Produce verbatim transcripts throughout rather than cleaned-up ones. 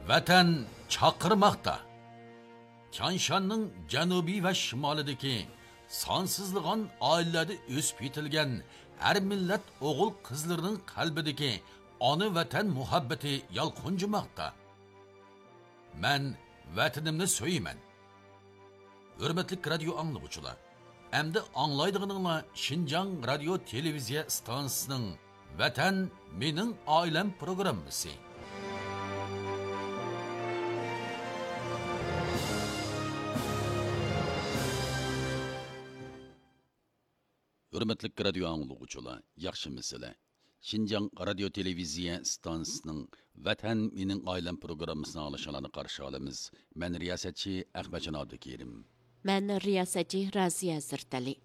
ۋەتەن چاقىرماقتا. تيانشاننىڭ جەنۇبى ۋە شىمالىدىكى سانسىزلىغان ئائىلىلەردە ئۆسۈپ يېتىلگەن ھەر مىللەت ئوغۇل-قىزلىرىنىڭ قەلبىدىكى ئانا ۋەتەن مۇھەببىتى يالقۇنجىماقتا. مەن ۋەتىنىمنى سۆيىمەن. ھۆرمەتلىك رادىيو ئاڭلىغۇچىلار، ئەمدى ئاڭلايدىغىنىڭلار شىنجاڭ رادىيو تېلېۋىزىيە ئىستانسىسىنىڭ ۋەتەن مېنىڭ ئائىلەم پروگراممىسى. ھۆرمەتلىك رادىيو ئاڭلىغۇچىلار، ياخشىمۇسىلەر؟ شىنجاڭ رادىيو تېلېۋىزىيە ئىستانسىسىنىڭ ۋەتەن مېنىڭ ئائىلەم پروگراممىسىنى ئاڭلىشىڭلارنى قارشى ئالىمىز. مەن رىياسەتچى ئەخمەتجان ئابدۇكېرىم. مەن رىياسەتچى رازىيە ھەزرىتەلى.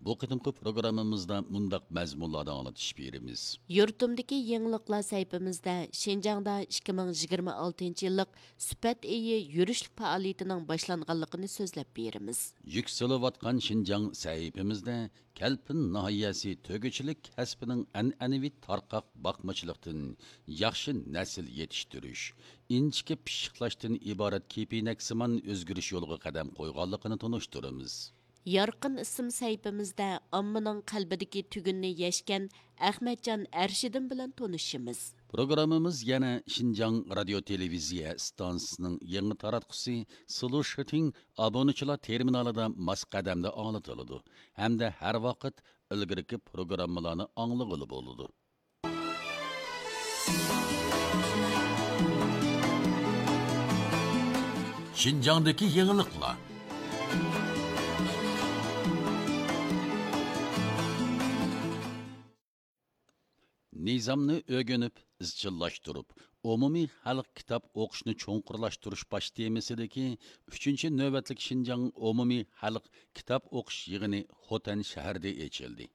بۇ قېتىمقى پروگراممىمىزدا مۇنداق مەزمۇنلاردا ئاڭلىتىش بېرىمىز. يۇرتۇمدىكى يېڭىلىقلار سەھىپىمىزدە شىنجاڭدا ئىككى مىڭ يىگىرمە ئالتىنچى يىللىق سۈپەت ئېيى يۈرۈشلۈك پائالىيىتىنىڭ باشلانغانلىقىنى سۆزلەپ بېرىمىز. يۈكسىلىۋاتقان شىنجاڭ سەھىپىمىزدە كەلپىن ناھىيەسى تۆگىچىلىك كەسپىنىڭ ئەنئەنىۋى تارقاق باقمىچىلىقتىن ياخشى نەسىل يېتىشتۈرۈش، ئىنچىكە پىششىقلاشتىن ئىبارەت كېپىنەكسىمان ئۆزگىرىش يولىغا قەدەم قويغانلىقىنى تونۇشتۇرىمىز. يارقىن ئىسىم سەھىپىمىزدە ئاممىنىڭ قەلبىدىكى تۈگۈننى يەشكەن ئەخمەتجان ئەرشىدىن بىلەن تونۇشىمىز. پروگراممىمىز يەنە شىنجاڭ رادىيو تېلېۋىزىيە ئىستانسىسىنىڭ يېڭى تاراتقۇسى سلۇشىتىڭ ئابۇنىچىلار تېرمىنالىدا ماس قەدەمدە ئاڭلىتىلىدۇ ھەمدە ھەر ۋاقىت ئىلگىرىكى پروگراممىلارنى ئاڭلىغىلى بولىدۇ. شىنجاڭدىكى يېڭىلىقلار. نىزامنى ئۆگىنىپ، ئىزچىللاشتۇرۇپ، ئومۇمىي خەلق كىتاب ئوقۇشنى چوڭقۇرلاشتۇرۇش باش تېمىسىدىكى ئۈچىنچى نۆۋەتلىك شىنجاڭ ئومۇمىي خەلق كىتاب ئوقۇش يىغىنى خوتەن شەھىرىدە ئېچىلدى.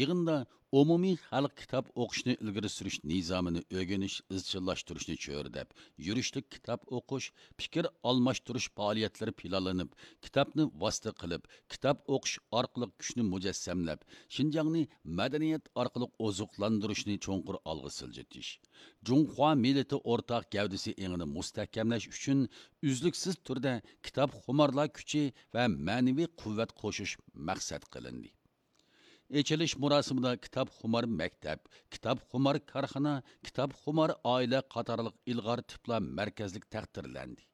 يىغىندا ئومۇمىي خەلق كىتاب ئوقۇشنى ئىلگىرى سۈرۈش نىزامىنى ئۆگىنىش، ئىزچىللاشتۇرۇشنى چۆرىدەپ، يۈرۈشلۈك كىتاب ئوقۇش، پىكىر ئالماشتۇرۇش پائالىيەتلىرى پىلانلىنىپ، كىتابنى ۋاسىتە قىلىپ، كىتاب ئوقۇش ئارقىلىق كۈچنى مۇجەسسەملەپ، شىنجاڭنى مەدەنىيەت ئارقىلىق ئوزۇقلاندۇرۇشنى چوڭقۇر ئالغا سىلجىتىش، جۇڭخۇا مىللىتى ئورتاق گەۋدىسى ئېڭىنى مۇستەھكەملەش ئۈچۈن ئۈزلۈكسىز تۈردە كىتابخۇمارلار كۈچى ۋە مەنىۋى قۇۋۋەت قوشۇش مەقسەت قىلىندى. ئېچىلىش مۇراسىمىدا كىتابخۇمار مەكتەپ، كىتابخۇمار كارخانا، كىتابخۇمار ئائىلە قاتارلىق ئىلغار تىپلار مەركەزلىك تەقدىرلەندى.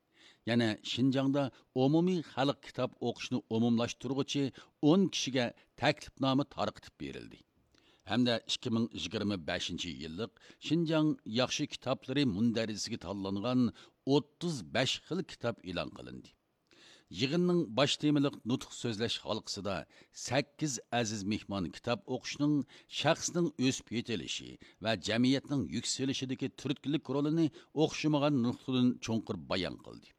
يەنە شىنجاڭدا ئومۇمىي خەلق كىتاب ئوقۇشنى ئومۇملاشتۇرغۇچى ئون كىشىگە تەكلىپنامە تارقىتىپ بېرىلدى. ھەمدە ئىككى مىڭ يىگىرمە بەشىنچى يىللىق شىنجاڭ ياخشى كىتابلىرى مۇندەرىجىسىگە تاللانغان ئوتتۇز بەش خىل كىتاب ئېلان قىلىندى. يىغىننىڭ باش تېمىلىق نۇتۇق سۆزلەش ھالقىسىدا سەككىز ئەزىز مېھمان كىتاب ئوقۇشنىڭ شەخسنىڭ ئۆسۈپ يېتىلىشى ۋە جەمئىيەتنىڭ يۈكسىلىشىدىكى تۈرتكىلىك رولىنى ئوخشىمىغان نۇقتىدىن چوڭقۇر بايان قىلدى.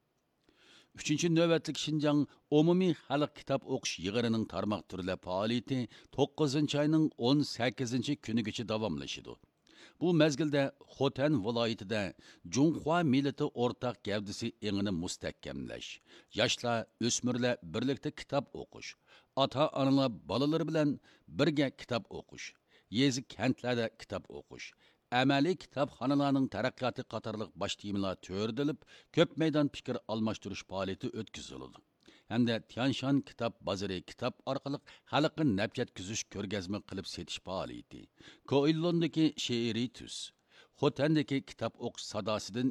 ئۈچىنچى نۆۋەتلىك شىنجاڭ ئومۇمىي خەلق كىتاب ئوقۇش يىغىنىنىڭ تارماق تۈرلەر پائالىيىتى توققۇزىنچى ئاينىڭ ئون سەككىزىنچى كۈنىگىچە داۋاملىشىدۇ. بۇ مەزگىلدە خوتەن ۋىلايىتىدە جۇڭخۇا مىللىتى ئورتاق گەۋدىسى ئېڭىنى مۇستەھكەملەش، ياشلار، ئۆسمۈرلەر بىرلىكتە كىتاب ئوقۇش، ئاتا-ئانىلار بالىلىرى بىلەن بىرگە كىتاب ئوقۇش، يېزا، كەنتلەردە كىتاب ئوقۇش، ئەمەلىي كىتابخانىلارنىڭ تەرەققىياتى قاتارلىق باش تېمىلار تۆرىدىلىپ، كۆپ مەيدان پىكىر ئالماشتۇرۇش پائالىيىتى ئۆتكۈزۈلىدۇ. ھەمدە تيانشان كىتاب بازىرى كىتاب ئارقىلىق خەلققە نەپ يەتكۈزۈش كۆرگەزمە قىلىپ سېتىش پائالىيىتى، كوئىللوندىكى شېئىرىي تۈس، خوتەندىكى كىتاب ئوقۇش ساداسىدىن